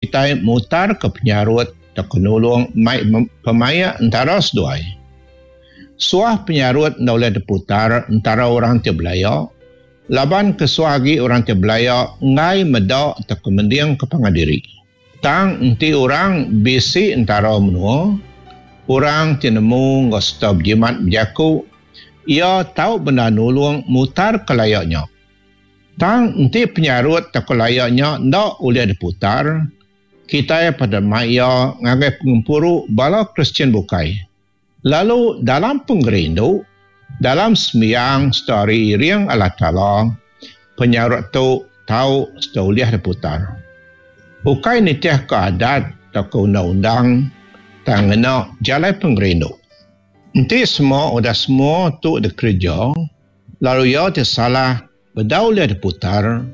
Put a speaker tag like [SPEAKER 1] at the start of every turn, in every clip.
[SPEAKER 1] kitai mutarka penyarut tauka nulung mai pemaik entara seduai. Suah penyarut enda ulih diputar entara orang ti belaya laban kesuah agi orang ti belaya enggai meda tauka mendingka pangan diri. Tang enti orang bisi entara menua, orang ti nemu enggau sereta bejimat bejaku, iya tau bendar nulung mutarka laya nya. Tang enti penyarut tauka laya nya enda ulih diputar, kitai patut mai iya ngagai pengempuru bala Kristian bukai. Lalu dalam pengerindu, dalam sembiang sereta ari iring Allah Taala, penyarut tu tau sereta ulih diputar. Ukai nitihka adat tauka undang-undang tang ngena jalai pengerindu. Enti semua udah semua tu dikereja lalu iya ti salah bedau ulih diputar,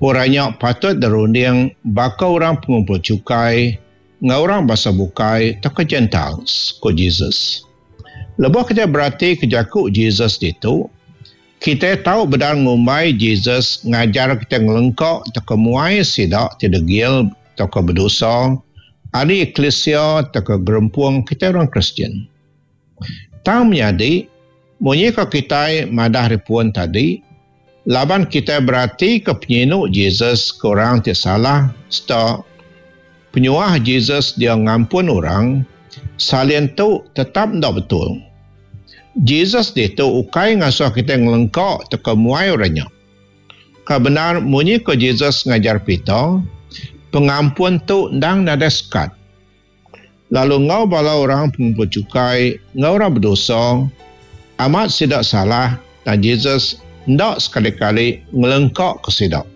[SPEAKER 1] orang nya patut dirunding baka orang pengumpul chukai enggau orang bansa bukai tauka Gentiles, ku Jesus. Lebuh kitai beratika jaku Jesus ditu, kitai tau bedar ngumbai Jesus ngajar kitai ngelengka tauka muai sida ti degil tauka bedosa ari eklisia tauka gerempung kitai orang Kristian. Tang menyadi, munyi ko kitai madah ari pun tadi, laban kitai beratika penyinu Jesus ke orang ti salah sereta penyuah Jesus dia ngampun orang, salin tu tetap enda betul. Jesus ditu ukai ngasuh kitai ngelengka tauka muai orang nya. Ka bendar munyi ko Jesus ngajar Peter, pengampun tu endang nadai sekat. Lalu enggau bala orang pengumpul chukai enggau orang bedosa, amat sida salah tang Jesus enda sekali-kali ngelengkaka sida.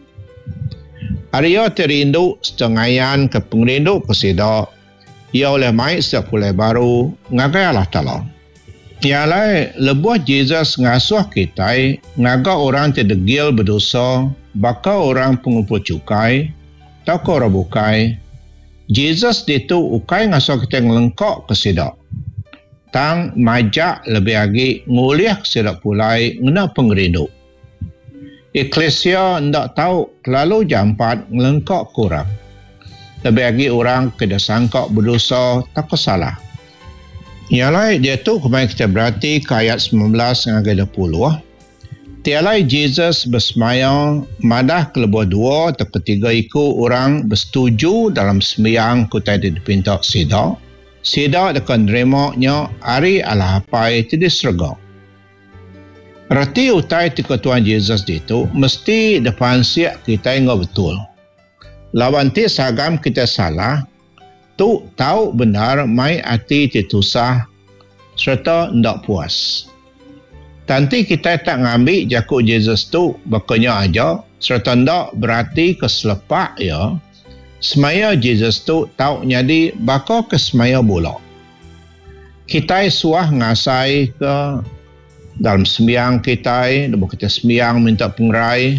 [SPEAKER 1] Ari iya ti rindu sereta ngayanka pengerindu ke sida, iya ulih mai sida pulai baru ngagai Allah Taala. Nya alai, lebuh Jesus ngasuh kitai ngaga orang ti degil bedosa baka orang pengumpul chukai tauka orang bukai, Jesus ditu ukai ngasuh kitai ngelengkaka sida, tang majak lebih agi ngulihka sida pulai ngena pengerindu. Eklisia enda tau kelalu jampat ngelengkaka orang, lebih agi orang ke disangka bedosa tauka salah. Nya alai diatu kemaya kitai beratika ayat 19 ngagai 20, Ti alai Jesus besemaya madah ke lebuh dua tauka tiga iku orang besetuju dalam sembiang ke utai ti dipinta sida, sida deka nerima nya ari Allah Apai ti di serega. Reti utai ti ku Tuan Jesus ditu mesti dipansik kitai enggau betul. Laban enti sagam kitai salah, tu tau bendar mai ati ti tusah sereta enda puas. Tang enti kitai tak ngambi jaku Jesus tu baka nya aja sereta enda beratika selepak iya, semaya Jesus tu tau nyadi baka ke semaya bula. Kitai suah ngasaika dalam sembiang kitai lebuh kitai sembiang minta pengerai,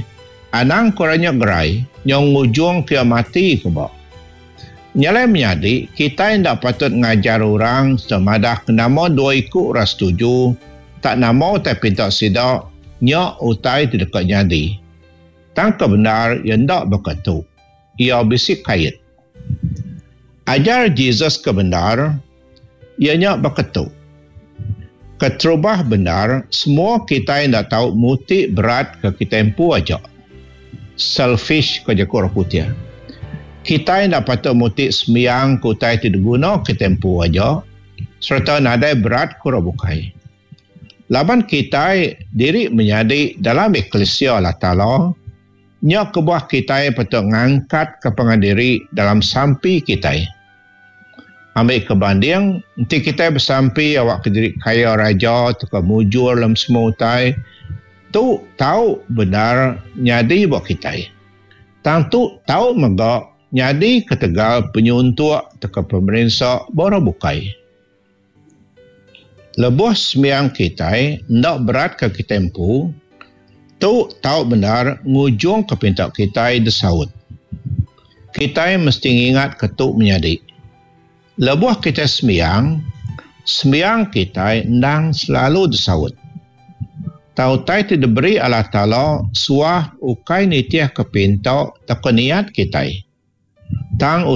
[SPEAKER 1] anang ke orang nya gerai, nyau ngujungka iya mati ke ba. Nya alai menyadi, kitai enda patut ngajar orang sereta madahka nama dua iku orang setuju tak nama utai pinta sida nya utai ti deka nyadi. Tang ke bendar iya enda baka tu. Iya bisi kait. Ajar Jesus ke bendar iya nya baka tu. Keterubah bendar, semua kitai enda tau muti berat ke kitai empu aja. Selfish ko jaku orang putih. Kitai enda patut muti sembiang ke utai ti diguna kitai empu aja sereta nadai berat ke orang bukai. Laban kitai diri menyadi dalam eklisia Allah Taala, nya kebuah kitai patut ngangkatka pangan diri dalam sampi kitai. Ambi ke banding, enti kitai besampi awakka diri kaya raja tauka mujur dalam semua utai, Tu tau bendar nyadi ba kitai. Tang tu tau mega nyadi ketegal penyuntuk tauka pemerinsa ba orang bukai. Lebuh sembiang kitai enda beratka kitai empu, tu tau bendar ngujungka pinta kitai disaut. Kitai mesti ngingatka tu menyadi. Lebuh kitai sembiang, sembiang kitai endang selalu disaut. Tang utai ti diberi Allah Taala suah ukai nitihka pinta tauka niat kitai. Tang.